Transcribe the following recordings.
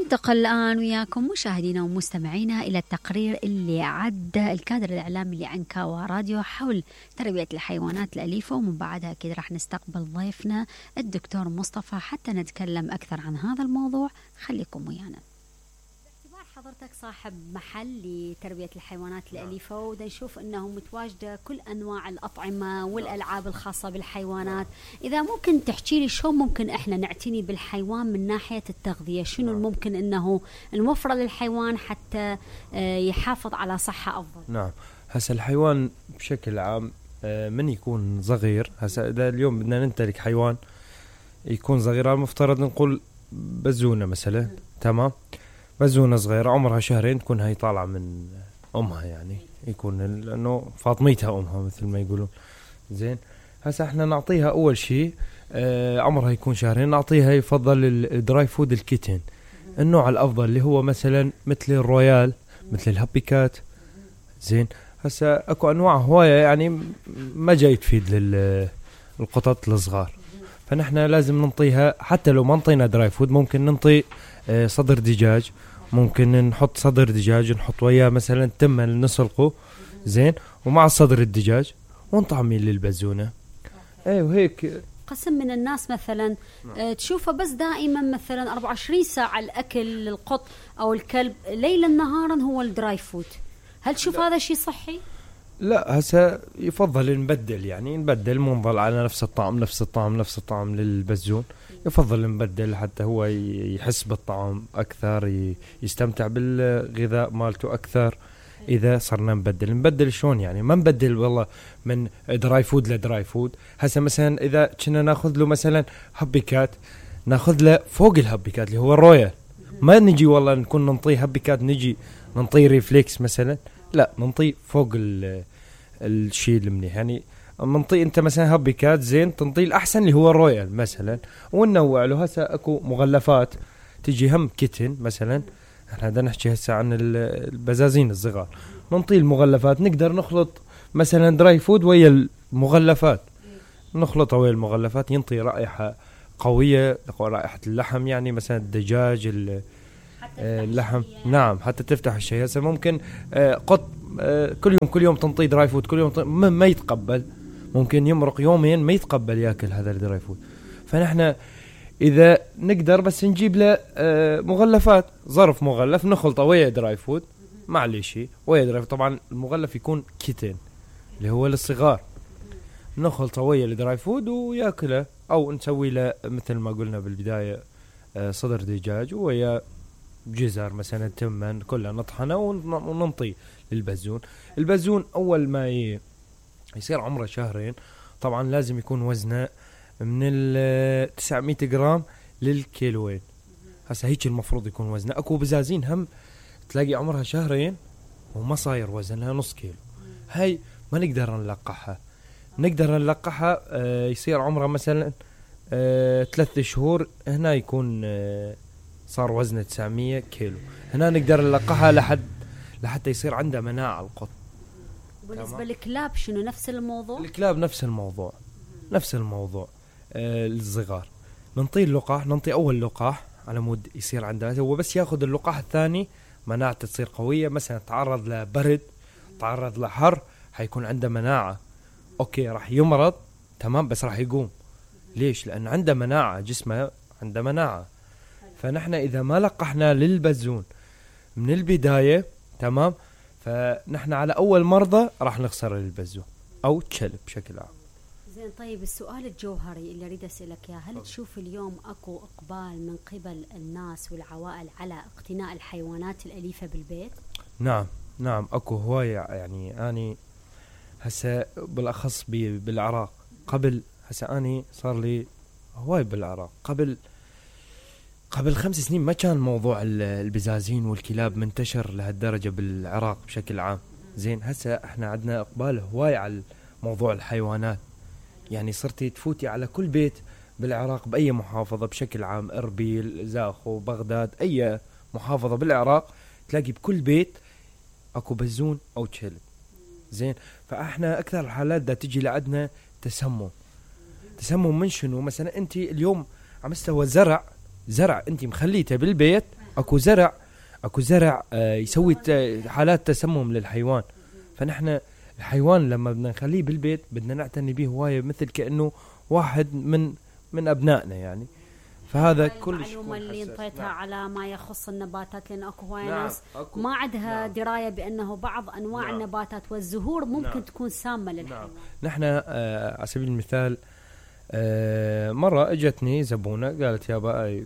ننتقل الآن وياكم مشاهدينا ومستمعينا إلى التقرير اللي عدى الكادر الإعلامي لعنكاوى راديو حول تربية الحيوانات الأليفة، ومن بعدها أكيد راح نستقبل ضيفنا الدكتور مصطفى حتى نتكلم أكثر عن هذا الموضوع. خليكم ويانا. باعتبار حضرتك صاحب محل لتربية الحيوانات الأليفة ودا نشوف أنه متواجدة كل أنواع الأطعمة والألعاب الخاصة بالحيوانات، إذا ممكن تحكي لي شو ممكن إحنا نعتني بالحيوان من ناحية التغذية، شنو الممكن أنه نوفر للحيوان حتى يحافظ على صحة أفضل؟ نعم، هسا الحيوان بشكل عام من يكون صغير، هسا إذا اليوم بدنا نمتلك حيوان يكون صغير، المفترض نقول بزونة مثلا، تمام، بزونة صغيرة عمرها شهرين تكون هاي طالعة من أمها، يعني يكون لأنه فاطميتها أمها مثل ما يقولون. زين، هسا احنا نعطيها أول شيء عمرها يكون شهرين، نعطيها يفضل الدراي فود الكيتن، النوع الأفضل اللي هو مثلا مثل الرويال، مثل الهابيكات. زين، هسا أكو أنواع هواية يعني ما جاي تفيد للقطط الصغار، فنحن لازم ننطيها، حتى لو ما نطينا دراي فود ممكن ننطي صدر دجاج، ممكن نحط صدر دجاج نحط وياه مثلا تمن نسلقه، زين، ومع صدر الدجاج ونطعميه للبزونة. اي وهيك. قسم من الناس مثلا تشوفه بس دائما مثلا 24 ساعة الأكل للقط أو الكلب، ليلا نهارا هو الدراي فود، هل تشوف هذا شيء صحي؟ لا، هسا يفضل نبدل، يعني نبدل، مو نضل على نفس الطعم للبزون، يفضل نبدل حتى هو يحس بالطعم أكثر، يستمتع بالغذاء مالته أكثر. إذا صرنا نبدل شون، يعني ما نبدل والله من دراي فود لدراي فود. هسا مثلا إذا كنا ناخذ له مثلا هابيكات، ناخذ له فوق الهابيكات اللي هو الرويال، ما نجي والله نكون ننطيه هابيكات نجي ننطيه ريفليكس مثلا، لا، ننطيه فوق الشيء المنيح، يعني منطي انت مثلا هابيكات زين تنطي الاحسن اللي هو الرويال مثلا، وننوع له. هسه اكو مغلفات تجي هم كيتن مثلا، احنا بدنا نحكي هسه عن البزازين الصغار، ننطي المغلفات، نقدر نخلط مثلا دراي فود ويا المغلفات، نخلطها ويا المغلفات، ينطي رائحة قوية، رائحة اللحم، يعني مثلا الدجاج اللحم، نعم، حتى تفتح الشيء. هسه ممكن قط كل يوم تنطي دراي فود، كل يوم ما يتقبل، ممكن يمرق يومين ما يتقبل ياكل هذا الدراي فود. فنحن إذا نقدر بس نجيب له مغلفات، ظرف مغلف نخلطه ويا دراي فود، معليش ويا دراي فود، طبعا المغلف يكون كيتن اللي هو للصغار، نخلطه ويا الدراي فود وياكله، أو نسوي له مثل ما قلنا بالبداية صدر دجاج ويا جزر مثلا تمن، كلها نطحنه وننطي للبزون. البزون أول ما يصير عمره شهرين طبعا لازم يكون وزنه من 900 جرام للكيلوين، هسا هيك المفروض يكون وزنه. أكو بزازين هم تلاقي عمرها شهرين وما صاير وزنها نص كيلو، هاي ما نقدر نلقحها، يصير عمرها مثلا 3 شهور، هنا يكون صار وزنه 900 كيلو، هنا نقدر نلقحها لحتى يصير عندها مناعة القط. بالنسبة للكلاب شنو نفس الموضوع؟ الكلاب نفس الموضوع الصغار، ننطي اللقاح، ننطي أول لقاح على مود يصير عندها، هو بس ياخذ اللقاح الثاني مناعته تصير قوية، مثلا تعرض لبرد، تعرض لحر، حيكون عنده مناعة، أوكي راح يمرض تمام بس راح يقوم. ليش؟ لأن عنده مناعة، جسمه عنده مناعة. فنحن إذا ما لقحنا للبزون من البداية تمام، فنحن على أول مرضى راح نخسر البزون أو كلب بشكل عام. زين، طيب السؤال الجوهري اللي أريد أسألك إياه، هل تشوف اليوم أكو إقبال من قبل الناس والعوائل على اقتناء الحيوانات الأليفة بالبيت؟ نعم أكو هواية، يعني أنا هسا بالأخص بالعراق، قبل هسا أنا صار لي هواي بالعراق، قبل 5 سنين ما كان موضوع البزازين والكلاب منتشر لهالدرجة بالعراق بشكل عام. زين، هسا احنا عندنا اقبال هواي على موضوع الحيوانات، يعني صرتي تفوتي على كل بيت بالعراق بأي محافظة بشكل عام، إربيل، زاخو، بغداد، أي محافظة بالعراق تلاقي بكل بيت أكو بزون أو كلب. زين، فاحنا أكثر الحالات دا تجي لعدنا تسمم من شنو؟ مثلا أنت اليوم عم مستوى زرع أنت مخليته بالبيت اكو زرع يسوي حالات تسمم للحيوان. فنحن الحيوان لما بدنا نخليه بالبيت بدنا نعتني به هواية، مثل كأنه واحد من أبنائنا يعني. فهذا كل المعلومة اللي انطيتها نعم. على ما يخص النباتات، لأن أكو هواية نعم. ناس ما عندها نعم. دراية بأنه بعض أنواع نعم. النباتات والزهور ممكن نعم. تكون سامة للحيوان. نحن على سبيل المثال مرة اجتني زبونة قالت يابا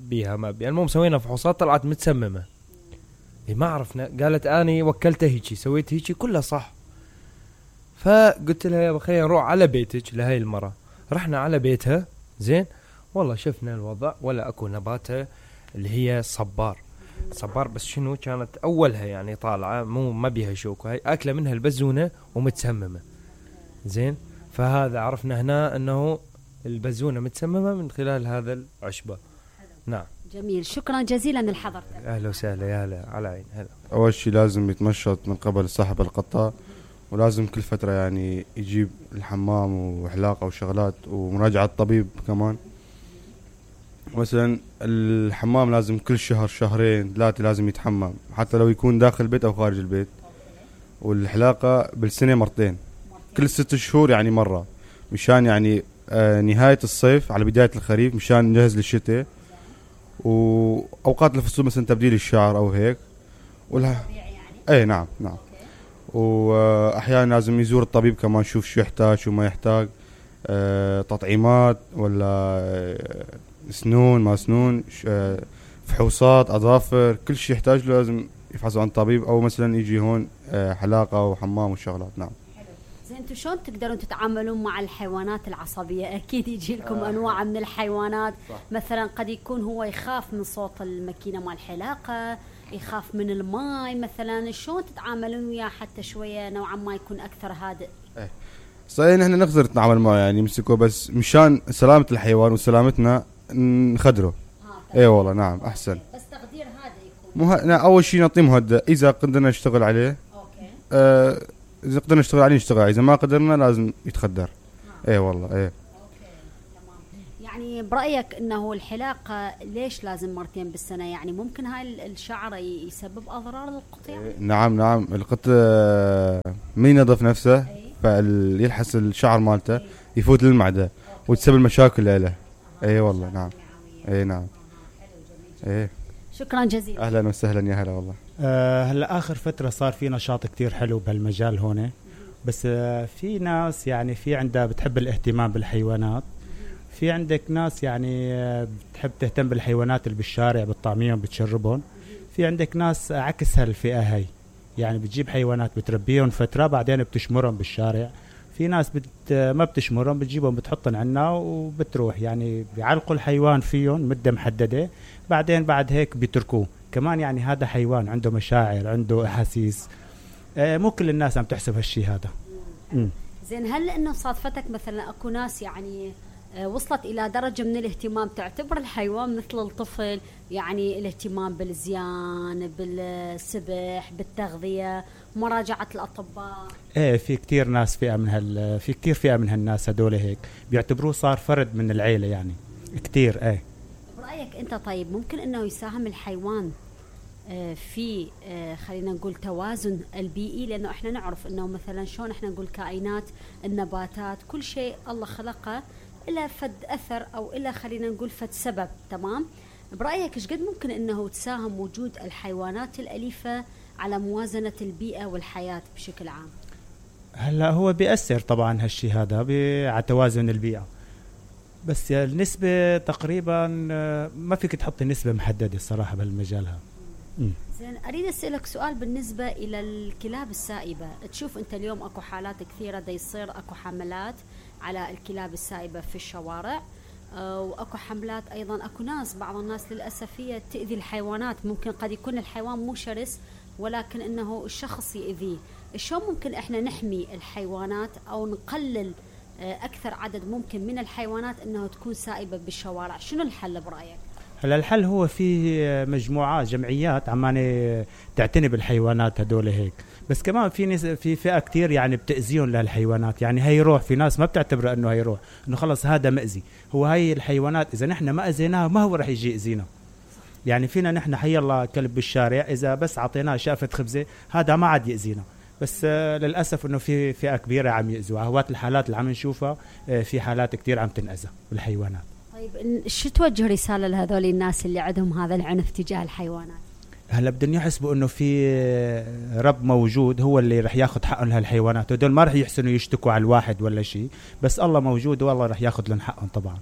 بيها ما بيها، المهم سوينا فحوصات طلعت متسممة. ما عرفنا، قالت اني وكلتها هيجي سويت هيجي كلها صح. فقلت لها يابا خلينا نروح على بيتك لهي المرة. رحنا على بيتها زين، والله شفنا الوضع ولا اكو نباتة اللي هي صبار. بس شنو كانت اولها يعني طالعة مو ما بيها شوك، هاي اكله منها البزونة ومتسممة زين. فهذا عرفنا هنا انه البزونة متسممة من خلال هذا العشبة. نعم جميل، شكرا جزيلا لحضرتك. اهلا وسهلا، يا هلا على عين. هلا. اول شيء لازم يتمشط من قبل صاحب القطة، ولازم كل فترة يعني يجيب الحمام وحلاقة وشغلات ومراجعة طبيب كمان. مثلا الحمام لازم كل شهر شهرين 3 لازم يتحمم، حتى لو يكون داخل البيت او خارج البيت. والحلاقة بالسنة مرتين، كل 6 شهور يعني مرة، مشان يعني نهاية الصيف على بداية الخريف مشان نجهز للشتاء، وأوقات الفصول مثلا تبديل الشعر أو هيك. يعني؟ أي نعم. وأحيانا لازم يزور الطبيب كمان يشوف شو يحتاج شو ما يحتاج، تطعيمات ولا سنون ما سنون، فحوصات أظافر، كل شيء يحتاج له لازم يفحصوا عن طبيب، أو مثلا يجي هون حلاقة وحمام وشغلات. نعم. زين، انتم شلون تقدرون تتعاملون مع الحيوانات العصبية؟ اكيد يجي لكم انواع من الحيوانات. صح. مثلا قد يكون هو يخاف من صوت الماكينة مال الحلاقة، يخاف من الماء مثلا، شلون تتعاملون وياه حتى شوية نوعا ما يكون اكثر هادئ؟ صحيح نحن نقدر نتعامل معه يعني نمسكه، بس مشان سلامة الحيوان وسلامتنا نخدره. اي والله نعم احسن. بس تقدير هذا يكون اول شيء نعطيه مهدئ، اذا قدرنا نشتغل عليه اوكي. إذا قدرنا نشتغل عليه نشتغل، إذا ما قدرنا لازم يتخدر. إيه والله إيه. يعني برأيك إنه الحلاقة ليش لازم مرتين بالسنة؟ يعني ممكن هاي الشعر يسبب أضرار للقطيع؟ نعم القط من ينظف نفسه فيلحس الشعر مالته يفوت للمعدة وتسبب مشاكل له. إيه والله نعم. إيه نعم. إيه. شكرا جزيلا. أهلا وسهلا، يا هلا والله. هلا آخر فترة صار في نشاط كتير حلو بهالمجال هون، بس في ناس يعني في عندها بتحب الاهتمام بالحيوانات، في عندك ناس يعني بتحب تهتم بالحيوانات اللي بالشارع بتطعميهم بتشربهم، في عندك ناس عكس هالفئة هاي، يعني بتجيب حيوانات بتربيهم فترة بعدين بتشمرهم بالشارع. في ناس ما بتشمرهم، بتجيبهم بتحطهم عنا وبتروح، يعني بيعلقوا الحيوان فيهم مدة محددة بعدين بعد هيك بيتركوه. كمان يعني هذا حيوان عنده مشاعر عنده أحاسيس، مو كل الناس عم تحسب هالشي هذا. زين، هل انه صادفتك مثلا اكو ناس يعني وصلت الى درجة من الاهتمام تعتبر الحيوان مثل الطفل، يعني الاهتمام بالزيان بالسبح بالتغذية مراجعة الأطباء؟ ايه في كتير ناس في كتير فئة من هالناس هدول هيك بيعتبروه صار فرد من العيلة يعني كتير. ايه برأيك انت طيب ممكن انه يساهم الحيوان في خلينا نقول توازن البيئي؟ لأنه احنا نعرف انه مثلا شلون احنا نقول كائنات النباتات كل شيء الله خلقه إلا فد أثر أو إلا خلينا نقول فد سبب، تمام؟ برأيك إيش قد ممكن إنه تساهم وجود الحيوانات الأليفة على موازنة البيئة والحياة بشكل عام؟ هلا هو بيأثر طبعا هالشي هذا على توازن البيئة، بس النسبة تقريبا ما فيك تحطي نسبة محددة الصراحة بهالمجال هذا. زين، أريد أسألك سؤال بالنسبة إلى الكلاب السائبة. تشوف أنت اليوم أكو حالات كثيرة دا يصير أكو حملات على الكلاب السائبة في الشوارع، وأكو حملات أيضا أكو ناس بعض الناس للأسف هي تأذي الحيوانات. ممكن قد يكون الحيوان مو شرس ولكن إنه الشخص يأذيه. شو ممكن إحنا نحمي الحيوانات أو نقلل أكثر عدد ممكن من الحيوانات إنه تكون سائبة بالشوارع؟ شنو الحل برأيك؟ هلا الحل هو في مجموعات جمعيات عمانة تعتني بالحيوانات هدول هيك، بس كمان في فئة كتير يعني بتأذيهم للحيوانات، يعني هي روح، في ناس ما بتعتبر انه هي روح، انه خلص هذا مأذي، هو هاي الحيوانات اذا نحن ما أذيناها ما هو رح يجي يأذينا. يعني فينا نحن حي الله كلب بالشارع إذا بس عطيناه شافة خبزة هذا ما عاد يأذينا، بس للأسف إنه في فئة كبيرة عم يأذوها. هوات الحالات اللي عم نشوفها في حالات كتير عم تنأذى بالحيوانات. طيب شو توجه رسالة لهذول الناس اللي عندهم هذا العنف تجاه الحيوانات؟ هلا بدهم يحسبوا انه في رب موجود هو اللي رح ياخذ حقهم لهالحيوانات، ودول ما رح يحسنوا يشتكوا على الواحد ولا شيء، بس الله موجود والله رح ياخذ لهم حقهم طبعا.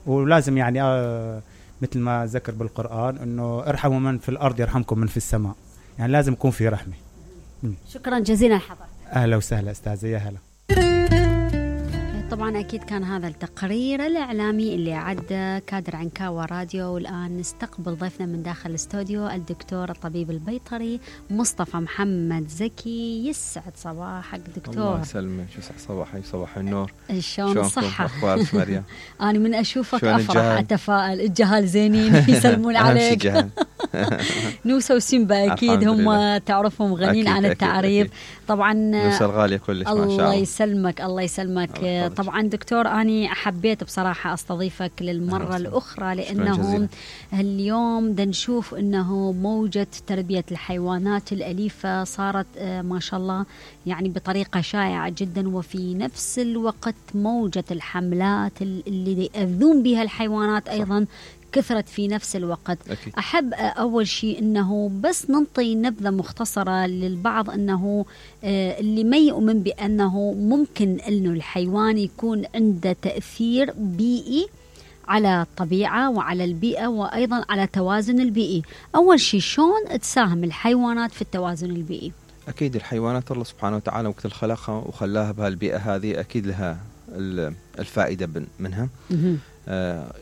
ولازم يعني مثل ما ذكر بالقرآن انه ارحموا من في الارض يرحمكم من في السماء، يعني لازم يكون في رحمة. شكرا جزيلا لحضرتك. اهلا وسهلا استاذة، يا هلا. طبعا أكيد كان هذا التقرير الإعلامي اللي عد كادر عنكاوى راديو. والآن نستقبل ضيفنا من داخل الاستوديو الدكتور الطبيب البيطري مصطفى محمد زكي. يسعد صباحك دكتور. الله يسلمك، يسعد صباحك، صباح النور. شلون الصحة؟ أخبارك مريم؟ أنا من أشوفك أفرح أتفائل. الجهال زينين يسلمون عليك. نوسة وسيمبا أكيد هم تعرفهم غنين عن التعريف. طبعا نوسة الغالية كلش ما شاء الله. الله يسلمك الله يسلمك. طبعا دكتور أنا حبيت بصراحة أستضيفك للمرة الأخرى لأنه اليوم نشوف أنه موجة تربية الحيوانات الأليفة صارت ما شاء الله يعني بطريقة شائعة جدا، وفي نفس الوقت موجة الحملات اللي يأذون بها الحيوانات أيضا كثرت في نفس الوقت. أكيد. أحب أول شيء أنه بس ننطي نبذة مختصرة للبعض أنه اللي ما يؤمن بأنه ممكن أنه الحيوان يكون عنده تأثير بيئي على الطبيعة وعلى البيئة وأيضا على توازن البيئي. أول شيء شلون تساهم الحيوانات في التوازن البيئي؟ أكيد الحيوانات الله سبحانه وتعالى وقت الخلقها وخلاها بهالبيئة هذه أكيد لها الفائدة منها.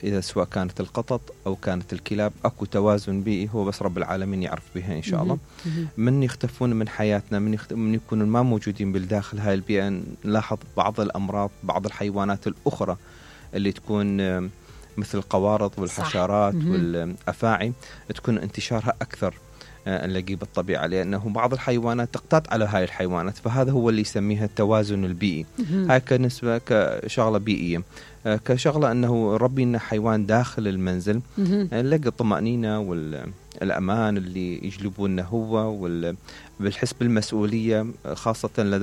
إذا سواء كانت القطط أو كانت الكلاب أكو توازن بيئي هو بس رب العالمين يعرف بها إن شاء الله. من يختفون من حياتنا من يكونوا ما موجودين بالداخل هاي البيئة نلاحظ بعض الأمراض، بعض الحيوانات الأخرى اللي تكون مثل القوارض والحشرات والأفاعي تكون انتشارها أكثر نلاقيه بالطبيعة، لأنه بعض الحيوانات تقتات على هاي الحيوانات، فهذا هو اللي يسميها التوازن البيئي. هاي كنسبة كشغلة بيئية. كشغلة أنه ربي لنا حيوان داخل المنزل نلاقي الطمأنينة والأمان اللي يجلبونه هو بالحس بالمسؤولية خاصة لدى